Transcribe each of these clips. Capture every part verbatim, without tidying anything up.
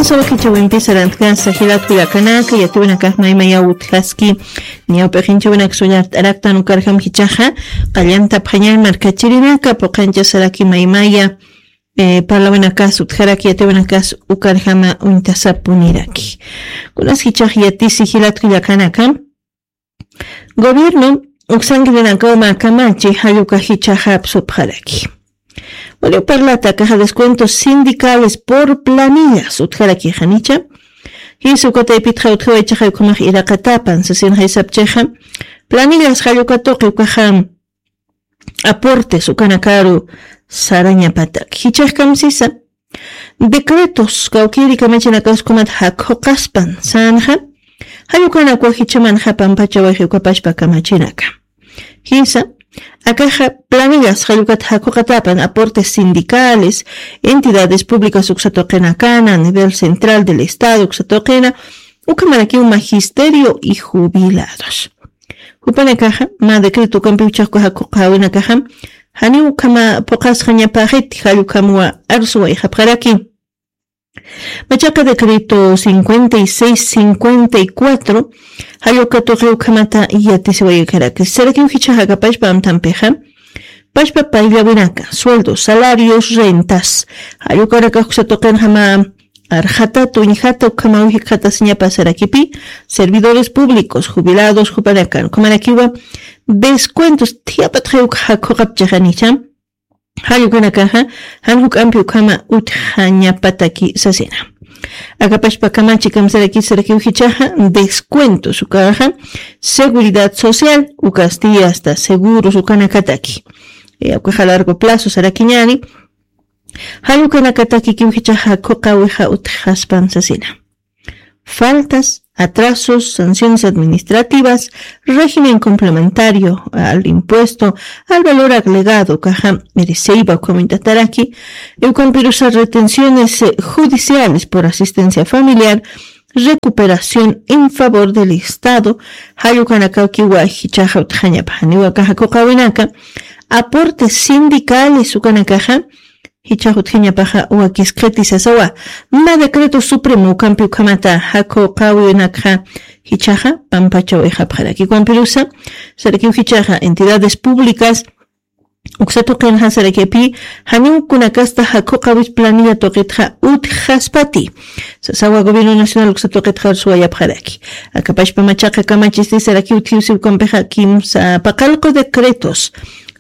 Sawakichawimpi sarantkasa jilat kullakanaka, yatiwinakax maymayaw utjaski, ñawp'ixinchawinaksa ullart'araktan ukarjam jichaxa, qallantapxañan markachirinaka, puqanchasaraki maymaya, eh, parlawinakas utjaraki, yatiwinakas ukarjama uñtasapuniraki. Kunas jichax yatisi jilat kullakanaka, gobierno uksankirinakaw mä kamachi jalluka jichaxa apsupxaraki. Waliw parlata akaxa descuentos sindicales por planillas utjaraki janicha. Jisa uka taypitxa utjawayachaxa ukhamax iraqatapan sasinxa sapchixa. Planillas jalluka tuqi ukaxa aportes ukanakaru sarañapatak. Jichax kamsisa. Decretos kawkiri kamachinakaskumat jakhuqaspan sanxa. Jallukanakwa jichamanxa pampachawayxi ukapachpa kamachinaka. Jisa, akaxa planillas jallukat jakhuqatapan aportes sindicales, entidades públicas uksatuqinakana, a nivel central del estado uksatuqina, ukhamarakiw magisterio y jubilados. Jupanakaxa, mä decreto ukampi uchhaxku jakhuqawinakaxa, janiw ukhama phuqasxañapaxiti jallukhamwa arsuwayxapxaraki. Machaqa decreto cincuenta y seis cincuenta y cuatro, jalluka tuqi ukhamata yatisiwaykaraki. Sarakiw jichaxa akapachpa amtampixa, pachpa payllawinaka, sueldos, salarios, rentas, jallukanakax uksatuqinxama arxatata uñjata ukhamaw jikxatasiñapa sarakipi, servidores públicos, jubilados, jupanakan ukhamarakiwa descuentos thiyapatxay ukxa jakhuqapchixa janicha. Jallukanakaxa, jan juk'ampi ukhama utjañapataki sasina. Akapachpa kamachi kamsaraki sarakiw jichaxa, descuentos ukaxa, seguridad social, ukasti hasta seguros ukanakataki. Eh, ukaxa largo plazo sarakiñani, jallukanakatakikiw jichaxa jakhuqawixa utjaspan sasina. Faltas, atrasos, sanciones administrativas, régimen complementario al impuesto al valor agregado, ukaxa, mereceiba ukhama uñtataraki, ukampirusa retenciones, eh, judiciales por asistencia familiar, recuperación en favor del Estado, jallukanakakiwa jichaxa utjañapa janiwa akaxa jakhuqawinaka, aportes sindicales ukanakaxa, jichax utjañapaxa wakiskiti sasawa. Mä decreto supremo ukampi ukhamata jakhuqawinakxa jichaxa pampachawayxapxaraki. Ukampirusa, sarakiw jichaxa entidades públicas, uksatuqinxa sarakipi, janiw kunakasta jakhuqawis planilla tuqitxa utjaspati. Sasawa gobierno nacional uksatuqitxa arsuwayapxaraki. Akapachpa machaqa kamachisti sarakiw utjiwsi ukampixa kimsa paqallqu decretos.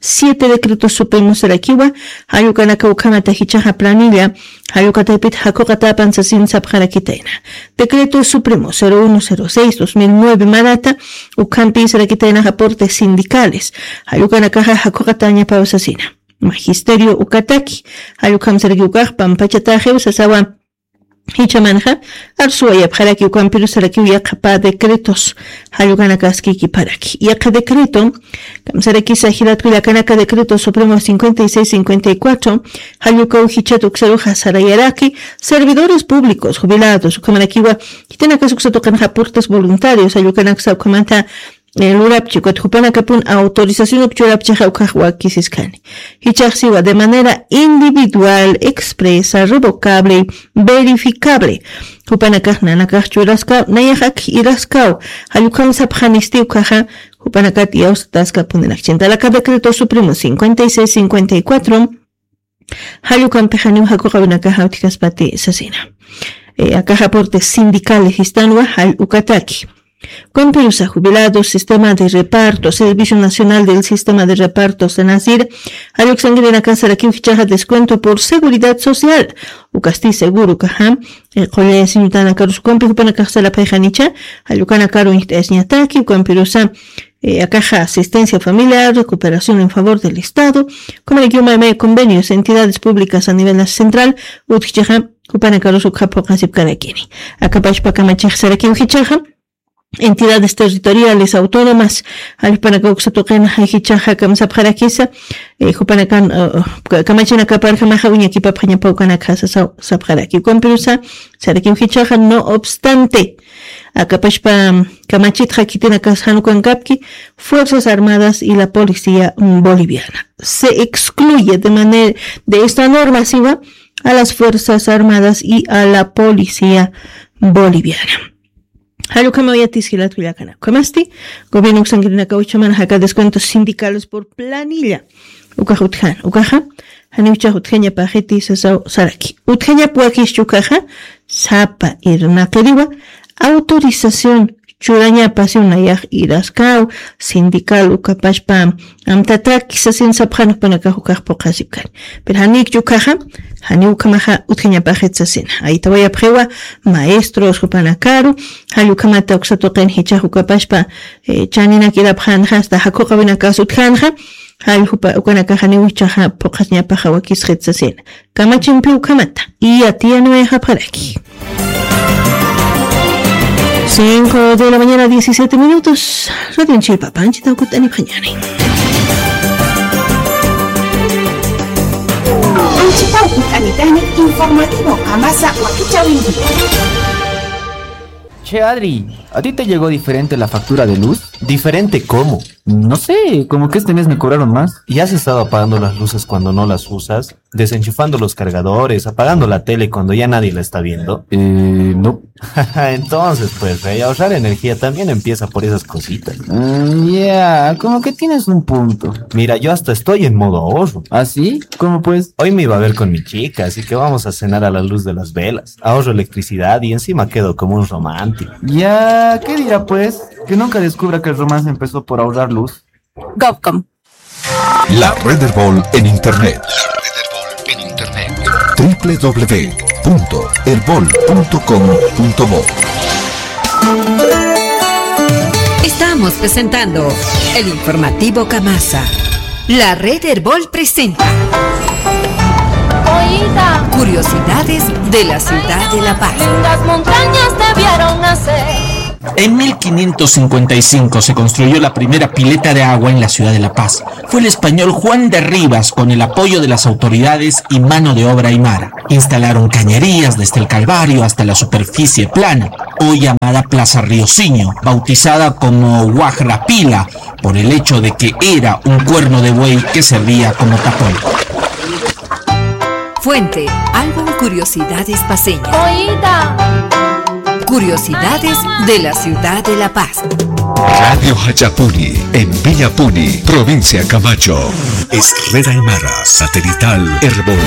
Siete decretos supremos sarakiwa, jallukanaka ukhamata jichaxa planilla, jalluka taypit jakhuqatapan sasin sapxarakitayna. Decreto supremo cero uno cero seis dos mil nueve manata, ukhampi sarakitayna aportes sindicales, jallukanakaxa jakhuqatañapaw sasina. Magisterio ukataki, jallukham saraki ukax pampachataxiw sasawa. Jichamanxa, arsuwayapxaraki ukampiru sarakiw yaqha pä decretos, jallukanakaskikipxaraki. Yaqha decreto, kamsarakisa jilat kullakanaka decreto supremo cincuenta y seis cincuenta y cuatro, jallukaw jichhat uksaruxa sarayaraki, servidores públicos, jubilados, ukhamarakiwa, jitanakas uksatuqinxa aportes voluntarios, jallukanaksa ukhamata, eh, lurapchi, ukat jupanakapun autorización ukchurapchixa ukax wakisiskani. Jichaxsiwa de manera individual, expresa, revocable, verificable. Jupanakax nanakax churaskaw, nayax ak iraskaw, jallukhan sapxanisti ukaxa, jupanakat iyawsataskapunirakichintara aka decreto supremo cincuenta y seis cincuenta y cuatro, jallukampixaniw jakhuqawinakaxa utjkaspati sasina. Eh, akax aportes sindicales jistanwa jall ukataki. Ukampirusa jubilados, sistema de reparto, Servicio Nacional del Sistema de Reparto, SENASIR, jalluksankirinaka sarakiw jichaxa descuento por seguridad social. Ukasti seguro ukaxa, eh, qullaya siñutanakarus ukampi jupanakax sarapxayxanicha, jallukanakaru uñjt'ayasiñataki, ukampirusa, eh, akaxa asistencia familiar, recuperación en favor del Estado, ukhamarakiw maymay convenios, entidades públicas a nivel central, utjchixa, jupanakarus ukxa phuqasipkarakini. Akapachpa kamachix sarakiw jichaxa, entidades territoriales autónomas, jall jupanakaw uksatuqinxa jichaxa kamsapxarakisa, eh, jupanakan, eh, ka-, kamachinakaparjamaxa uñakipapxañapaw ukanakxa sasaw sapxaraki. Ukampirusa, sarakiw jichaxa, no obstante, akapachpa kamachitxa khitinakas jan ukankapki, Fuerzas Armadas y la Policía Boliviana. Se excluye de manera, de esta norma, siwa, a las Fuerzas Armadas y a la Policía Boliviana. Jall ukhamaw yatis jilat kullakanaka. Ukhamasti, gobierno uksankirinakaw uchhamana jaka descuentos sindicales por planilla. Ukax utjan, ukaxa, janiw ichax utjañapaxiti sasaw saraki. Utjañap wakischi ukaxa, sapa irnaqiriwa, autorización churañapasi nayax iraskäw, sindical ukapachpa amtataki sasin sapxan jupanakax ukax phuqhasipkani. Pero janikchi ukaxa, janiw ukhamaxa utjañapaxit sasina. Aytawayapxiwa maestros jupanakaru, jall ukhamata uksa tuqin jichhax ukapachpa, eh, chaninak irapxänxa, hasta jakhuqawinakas utjänxa, jall jupa ukanakax janiw ichaxa phuqhasñapaxa wakisxit sasina. Kamachimpi ukhamata, yatiyaniwayxapxaraki. Cinco de la mañana, diecisiete minutos. Radionchi papanchi tawkut'anipxañani. Anchitaw kut'anitani informativo Kamasa wakichäwinki. Che, Adri, ¿a ti te llegó diferente la factura de luz? ¿Diferente cómo? No sé, como que este mes me cobraron más. ¿Y has estado apagando las luces cuando no las usas? ¿Desenchufando los cargadores, apagando la tele cuando ya nadie la está viendo? Eh, no. Entonces, pues, rey, ahorrar energía también empieza por esas cositas. Mm, ya, como que tienes un punto. Mira, yo hasta estoy en modo ahorro. ¿Ah, sí? ¿Cómo pues? Hoy me iba a ver con mi chica, así que vamos a cenar a la luz de las velas. Ahorro electricidad y encima quedo como un romántico. Ya, ¿qué dirá pues? Que nunca descubra que el romance empezó por ahorrar luz. Govcom. La Red Erbol en Internet. La Red Erbol en Internet. W W W punto erbol punto com punto bo. Estamos presentando el informativo Kamasa. La Red Erbol presenta Oiga. Curiosidades de la ciudad de La Paz. Lindas montañas debieron nacer. En mil quinientos cincuenta y cinco se construyó la primera pileta de agua en la ciudad de La Paz. Fue el español Juan de Rivas, con el apoyo de las autoridades y mano de obra aymara. Instalaron cañerías desde el Calvario hasta la superficie plana, hoy llamada Plaza Rioseño, bautizada como Guajrapila, por el hecho de que era un cuerno de buey que servía como tapón. Fuente, álbum Curiosidades Paceñas. Oiga. Curiosidades de la ciudad de La Paz. Radio Hachapuni, en Villapuni, provincia Camacho. Es Red Aymara Satelital Erbol.